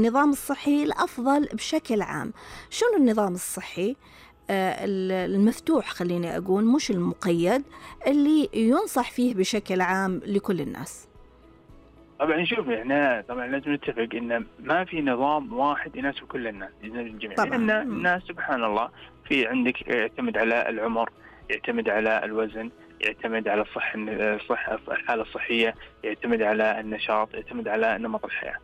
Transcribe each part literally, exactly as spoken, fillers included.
النظام الصحي الأفضل بشكل عام. شنو النظام الصحي المفتوح، خليني أقول مش المقيد، اللي ينصح فيه بشكل عام لكل الناس؟ طبعا شوف، احنا طبعا لازم نتفق ان ما في نظام واحد يناسب كل الناس، الجميع، لان الناس سبحان الله في عندك يعتمد على العمر، يعتمد على الوزن، يعتمد على الصحة الصحة الحالة الصحية، يعتمد على النشاط، يعتمد على نمط الحياة.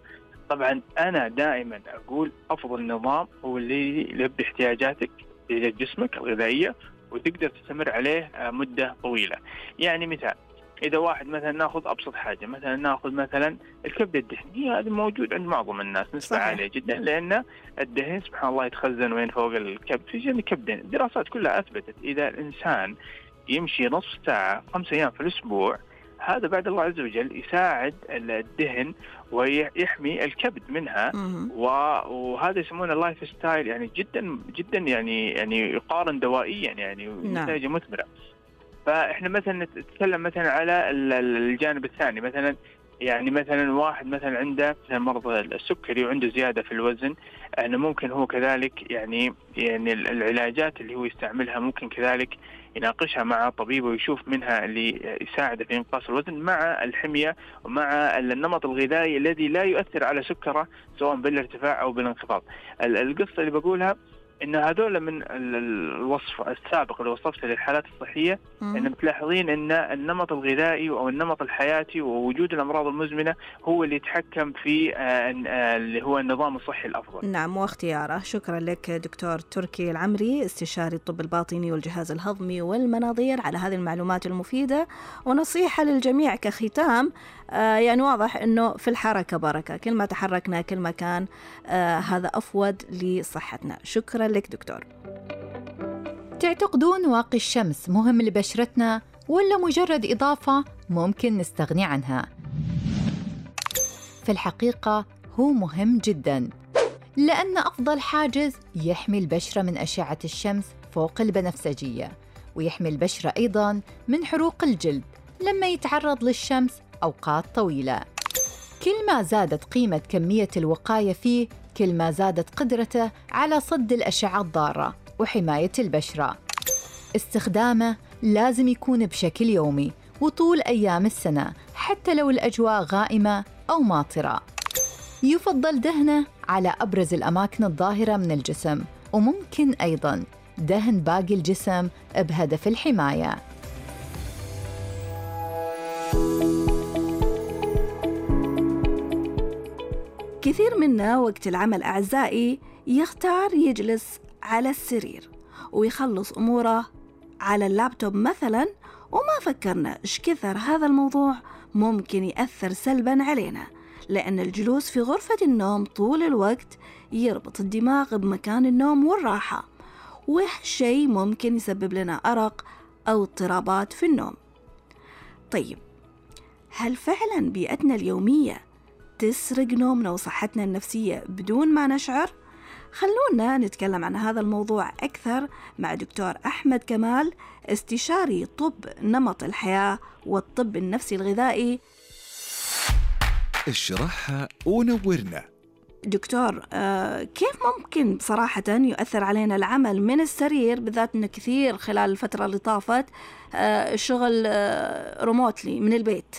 طبعا أنا دائما أقول أفضل نظام هو اللي يلبي احتياجاتك لجسمك الغذائية وتقدر تستمر عليه مدة طويلة. يعني مثال، إذا واحد مثلا ناخذ أبسط حاجة، مثلا ناخذ مثلا الكبد الدهني، هذا موجود عند معظم الناس نسبة عالية جدا، لأن الدهن سبحان الله يتخزن وين فوق الكبد في جنب الكبد. الدراسات كلها أثبتت إذا الإنسان يمشي نصف ساعة خمسة أيام في الأسبوع، هذا بعد الله عز وجل يساعد الدهن ويحمي الكبد منها، وهذا يسمونه اللايف ستايل، يعني جدا جدا يعني يعني يقارن دوائيا يعني نتائج مثمرة. فإحنا مثلا نتكلم مثلا على الجانب الثاني، مثلا يعني مثلا واحد مثلا عنده مرض السكري وعنده زيادة في الوزن، أنه ممكن هو كذلك يعني يعني العلاجات اللي هو يستعملها ممكن كذلك يناقشها مع طبيب ويشوف منها اللي يساعده في إنقاص الوزن مع الحمية ومع النمط الغذائي الذي لا يؤثر على سكره سواء بالارتفاع أو بالانخفاض. القصة اللي بقولها إن هذول من الوصف السابق اللي وصفته للحالات الصحية، إن بتلاحظين إن النمط الغذائي أو النمط الحياتي ووجود الأمراض المزمنة هو اللي يتحكم في اللي هو النظام الصحي الأفضل. نعم، واختياره. شكرا لك دكتور تركي العمري، استشاري الطب الباطني والجهاز الهضمي والمناظير، على هذه المعلومات المفيدة. ونصيحة للجميع كختام، آه يعني واضح أنه في الحركة بركة، كل ما تحركنا كل ما كان آه هذا أفود لصحتنا. شكرا لك دكتور. تعتقدون واقي الشمس مهم لبشرتنا ولا مجرد إضافة ممكن نستغني عنها؟ في الحقيقة هو مهم جداً، لأن أفضل حاجز يحمي البشرة من أشعة الشمس فوق البنفسجية، ويحمي البشرة أيضاً من حروق الجلد لما يتعرض للشمس أوقات طويلة. كل ما زادت قيمة كمية الوقاية فيه، كل ما زادت قدرته على صد الأشعة الضارة وحماية البشرة. استخدامه لازم يكون بشكل يومي وطول أيام السنة، حتى لو الأجواء غائمة أو ماطرة. يفضل دهنه على أبرز الأماكن الظاهرة من الجسم، وممكن أيضاً دهن باقي الجسم بهدف الحماية. كثير منا وقت العمل أعزائي يختار يجلس على السرير ويخلص أموره على اللابتوب مثلاً، وما فكرنا إيش كثر هذا الموضوع ممكن يأثر سلباً علينا، لأن الجلوس في غرفة النوم طول الوقت يربط الدماغ بمكان النوم والراحة، وهالشي ممكن يسبب لنا أرق أو اضطرابات في النوم. طيب، هل فعلاً بيئتنا اليومية تسرق نومنا وصحتنا النفسية بدون ما نشعر؟ خلونا نتكلم عن هذا الموضوع أكثر مع دكتور أحمد كمال، استشاري طب نمط الحياة والطب النفسي الغذائي. اشرحها ونورنا. دكتور، آه كيف ممكن بصراحة يؤثر علينا العمل من السرير، بالذات أنه كثير خلال الفترة اللي طافت آه الشغل آه ريموتلي من البيت،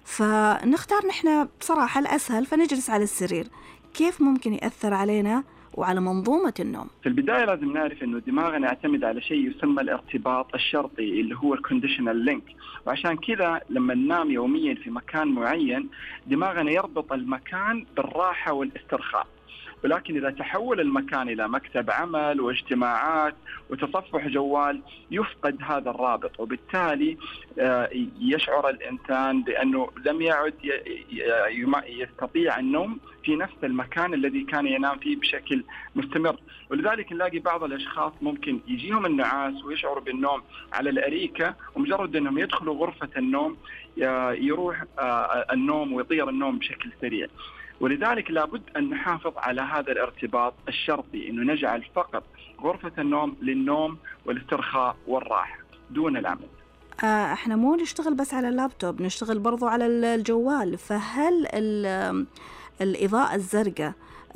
فنختار نحن بصراحة الأسهل فنجلس على السرير. كيف ممكن يأثر علينا وعلى منظومة النوم؟ في البداية لازم نعرف إنه دماغنا يعتمد على شيء يسمى الارتباط الشرطي اللي هو الكونديشنال لينك، وعشان كذا لما ننام يوميا في مكان معين دماغنا يربط المكان بالراحة والاسترخاء. ولكن إذا تحول المكان إلى مكتب عمل واجتماعات وتصفح جوال يفقد هذا الرابط، وبالتالي يشعر الإنسان بأنه لم يعد يستطيع النوم في نفس المكان الذي كان ينام فيه بشكل مستمر. ولذلك نلاقي بعض الأشخاص ممكن يجيهم النعاس ويشعروا بالنوم على الأريكة، ومجرد أنهم يدخلوا غرفة النوم يروح النوم ويطير النوم بشكل سريع. ولذلك لابد أن نحافظ على هذا الارتباط الشرطي، إنه نجعل فقط غرفة النوم للنوم والاسترخاء والراحة دون العمل. آه احنا مو نشتغل بس على اللابتوب، نشتغل برضو على الجوال، فهل الإضاءة الزرقاء